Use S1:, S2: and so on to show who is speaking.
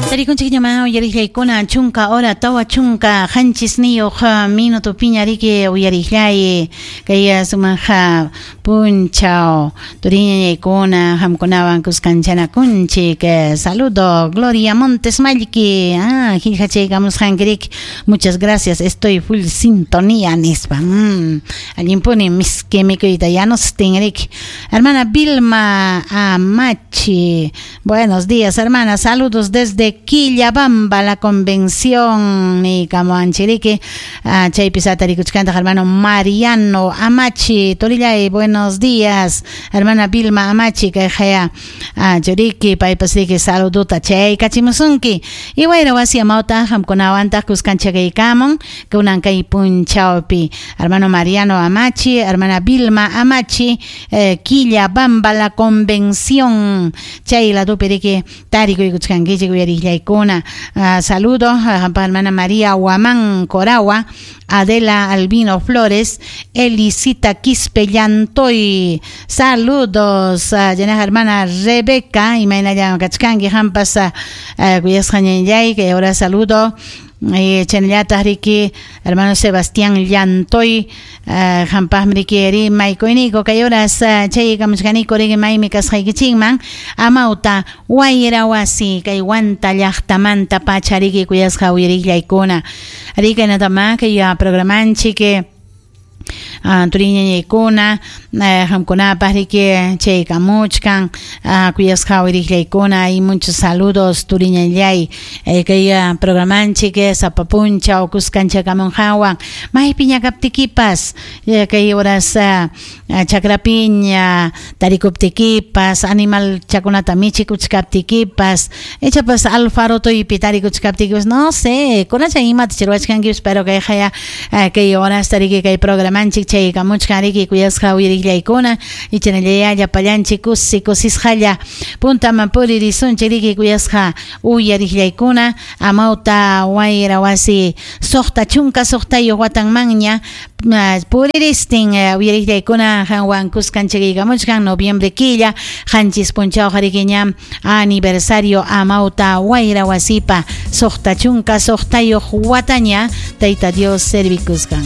S1: Tarikunchikñamá uyariqllaykuna chunka hora 47 minutopiña riki uyariqllay kay sumaq punchaw turiñañaykuna qamkunawan kuskanchanakunchik. Saludo Gloria Montes Mallki, qillqachaykamusqanki, muchas gracias, estoy full sintonía nispa. Allinpuni miski mikuyta yanustin riki. Hermana Vilma Amachi, buenos días, hermana, saludos desde Quillabamba, la convención niykamuwanchik. Chaypi satarikuchkantaq hermano Mariano Amachi, turillay, buenos días, hermana Vilma Amachi, kayqaya churiki, paypas riki saludota chaykachimusunki. Y wayra wasi amawta qamkunawantaq kuskanchakaykamun kunan kay punchawpi hermano Mariano Amachi, hermana Vilma Amachi, Quillabamba, la convención, chay ladopi riki tarikuykuchkankichik uyariqllaykuna. Saludo qampa hermana María Guamán Coragua, Adela Albino Flores, Elisita Quispe Llantoy, saludos, llena hermana Rebeca, imaynallam kachkanki qampas, kuyasqa ñañay, que ahora saludo. Chaynallataq riki hermano Sebastián Llantoy, qampaqmi riki rimaykuyniku kay horas chaykamuchkaniku riki maymi kasqaykichikman amawta wayra wasi kay Huanta llaqtamanta pacha riki kuyasqa uyariqllaykuna. Riki natama kay programanchik turiñañaykuna qamkunapaq riki chaykamuchkan kuyasqa uyariqllaykuna y muchos saludos turiñallay kay programanchik sapa punchaw kuskanchakamunqawan maypiña kaptikipas kay horas chakrapiña tarikuptikipas animal chakunata michikuchkaptikipas ichapas alfarotuypi tarikuchkaptikipas no sé kunacha imata ruwachkankipas pero kayqaya kay horas tariki kay programanchik chaykamuchkan riki kuyasqa uyariqllaykuna ichanallaya llapallanchik kusi kusisqalla puntaman puririsunchik riki kuyasqa uyariqllaykuna amawta wayra wasi 66 watanmanña puriristin uyariqllaykuna qanwan kuskanchikaykamuchkan noviembre killa qanchis punchawqa riki ñam aniversario amawta wayra wasipa 66 wataña Tayta Dios servikusqan.